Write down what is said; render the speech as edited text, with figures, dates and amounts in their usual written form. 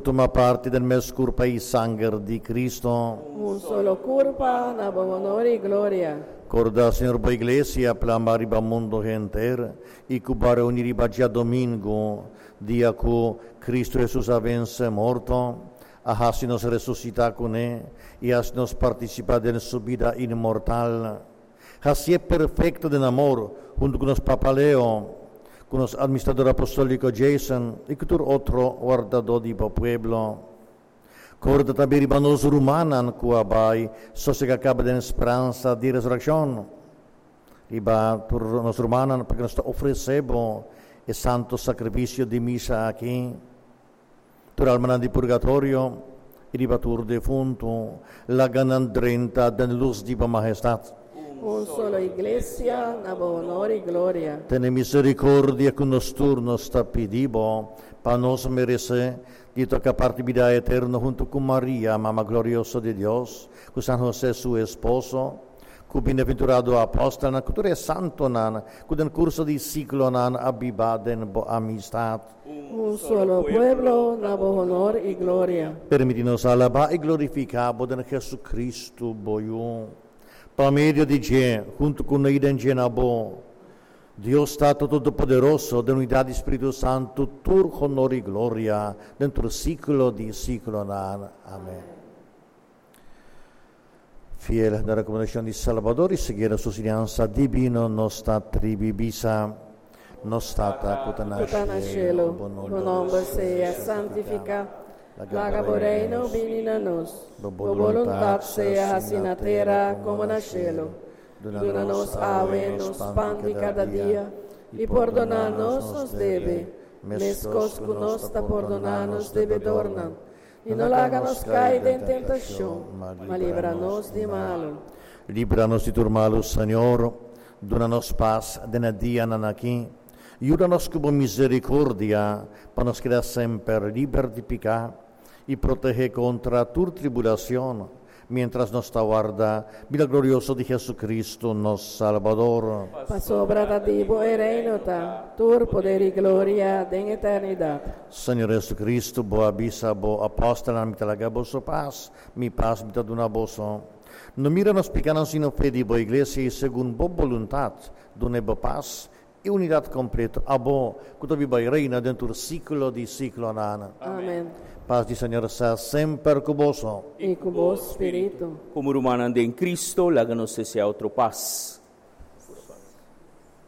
tuma parti den mes kurpa i sanger di Kristu. Un solo kurpa na bo honor i gloria. Korda, Señor, bo Iglesia plama riba mundu henter i ku bo a reuní riba djadomingu, dia ku Kristu Hesus a vense morto, a hasi nos resusitá kuné i hasi nos partisipá den su bida inmortal. Hasié perfekto den amor huntu ku nos Papa Leo, ku nos Administrador Apostóliko Jason i ku tur otro wardadó di bo pueblo. Korda tambe riba nos rumannan ku a bai sosegá kaba den speransa di resurekshon. Riba tur nos rumannan pa ku nos ta ofresé bo e santo sakrifisio di misa aki. Tur almanan di purgatorio i riba tur defuntu, laga nan drenta den lus di bo Mahestat. Un solo Iglesia, na bo honor i gloria. Tene misericordia cu nos tur, nos ta pidi bo, pa nos merece di toca parti bida eterno hunto cu Maria, Mama glorioso di Dios, cu San Jose su esposo, Ku bienaventurado apòstelnan, ku tur e santonan ku den kurso di siglonan a biba den bo amistat. Un solo pueblo na bo honor i gloria. Permití nos alabá i glorifiká bo den Jesucristo, bo Yu. Pa medio di dje, huntu ku no i den dje na bo, Dios Tata Todopoderoso, den unidat di Spiritu Santu, tur honor i gloria den tur siglo di siglonan. Amèn. Fiel na rekomendashon di Salbador i siguiendo su siñansa dibino, nos ta tribi bisa, Nos Tata ku ta na Ku ta na shelu, bo bo nòmber sea santifiká. Laga bo reino bini na nos. Bo Bo boluntat sea hasi na tera komo na shelu. Duna nos awe nos pan di kada dia, i pordoná nos nos debe, meskos ku nos ta pordoná nos debedornan. I no laga nos kai den tentashon, ma libra nos di malu. Libra nos di tur malu, Señor. Duna nos pas den e dianan aki. Yuda nos ku bo misericordia pa nos keda semper liber di piká i protehé kontra tur tribulacion, miéntras nos ta warda bida glorioso di Jesucristo, nos Salbador. Pasobra ta di bo e reino ta, tur poder i gloria den eternidat. Señor Jesucristo, bo a bisa bo apòstelnan, Mi ta laga boso pas, mi pas mi ta duna boso. No mira nos pikánan sino fe di bo iglesia i segun bo boluntat dun'é bo pas i unidat kompleto, abo ku ta biba i reina den tur siklo di siklonan. Amen. Pas di Señor sea semper ku boso. I ku bo spiritu. Komo rumannan den Kristo, laga nos desea otro pas.